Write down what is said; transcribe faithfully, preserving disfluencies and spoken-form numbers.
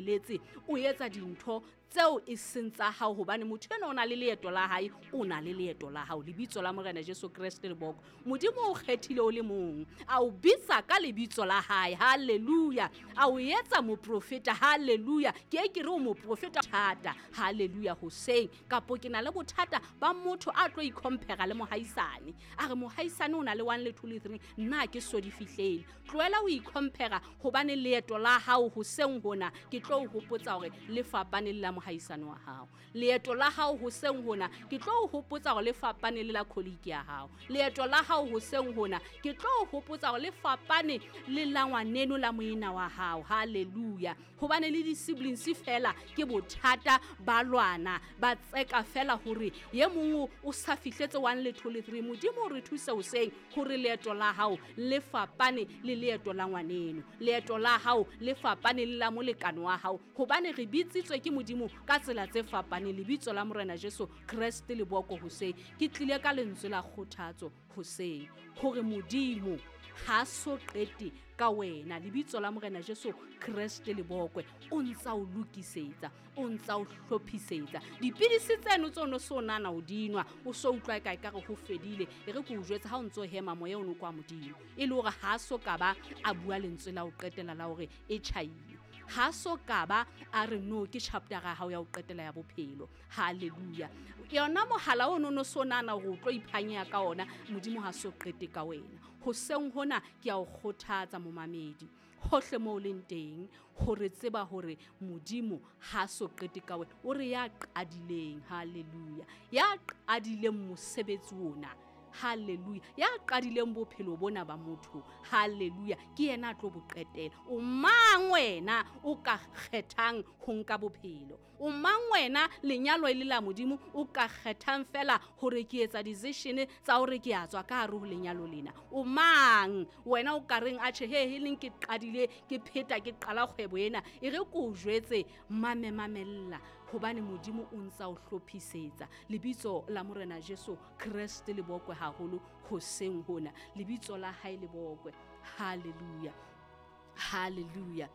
eletse o etsa dintho tseo e seng tsa hao, hobane motho enwa o na le leeto la hae, o na le leeto la hao. Lebitso la Morena Jesu Kreste le boko. Modimo o kgethile o le mong, a o bitsa ka lebitso la hae. Hallelujah. A o etsa moprofeta. Hallelujah. Ke e ke re o moprofeta thata. Hallelujah. Hoseng kapo ke na le bothata ba motho a tlo icompare le mohaisane, a re mohaisane o na le one le two le three, nna ke so di fihlele. Tlohela ho icompare, hobane leeto la hao hoseng hona ke tlo o hopotsa hore le fapane le la mohaisane wa hao. Leeto la hao hoseng hona ke tlo o hopotsa hore le fapane le la colleague ya hao. Leeto la hao hoseng hona ke tlo o hopotsa hore le fapane le la ngwaneno la moena wa hao. Hallelujah. Hobane le di-siblings fela ke bothata, ba lwana, ba tseka fela hore ye mong o sa fihletse one le two le three. Modimo o re thuse hoseng hore leeto la hao le fapane le leeto la ngwaneno, leeto la hao le fapane le la molekane wa hao, hobane re bitsitswe ke Modimo ka tsela tse fapaneng. Lebitso la Morena Jesu Kreste le boko hoseng. Ke tlile ka lentswe la kgothatso hoseng hore Modimo ha so qete ka wena. Lebitso la Morena Jesu Kreste le bokwe. O ntsa o lokisetsa, o ntsa o hlophisetsa. Dipidisi tseno tse o no so nana o dinwa, o so utlwa e ka ekare ho fedile. E re ke o jwetse ha o ntso hema moya o no kwa Modimo, e le hore ha so ka ba a bua lentswe la ho qetela la hore e tjhaile. Ha so ka ba a re no ke chapter ya hao ya ho qetela ya bophelo. Hallelujah. Yona mohala o no no so nana hore o tlo iphanya ka ona, Modimo ha so qete ka wena. Hoseng hona ke a o kgothatsa momamedi hohle moo o leng teng, hore tseba hore Modimo ha so qete ka wena. O re ya qadileng, hallelujah, ya qadileng mosebetsi ona, hallelujah, ya qadileng bophelo bona ba motho, hallelujah, ke yena a tlo bo qetela. O mang wena o ka kgethang ho nka bophelo? O mang wena lenyalo e le la Modimo o ka kgethang fela hore ke etsa decision tsa hore ke a tswa ka hare ho lenyalo lena? O mang wena o ka reng atjhe he he leng ke qadile ke pheta ke qala kgwebo ena? E re ke o jwetse, mame mamella, hobane Modimo o ntsa o hlophisetsa. Lebitso la Morena Jesu Kreste le bokwe haholo hoseng hona. Lebitso la hae le bokwe. Hallelujah. Hallelujah.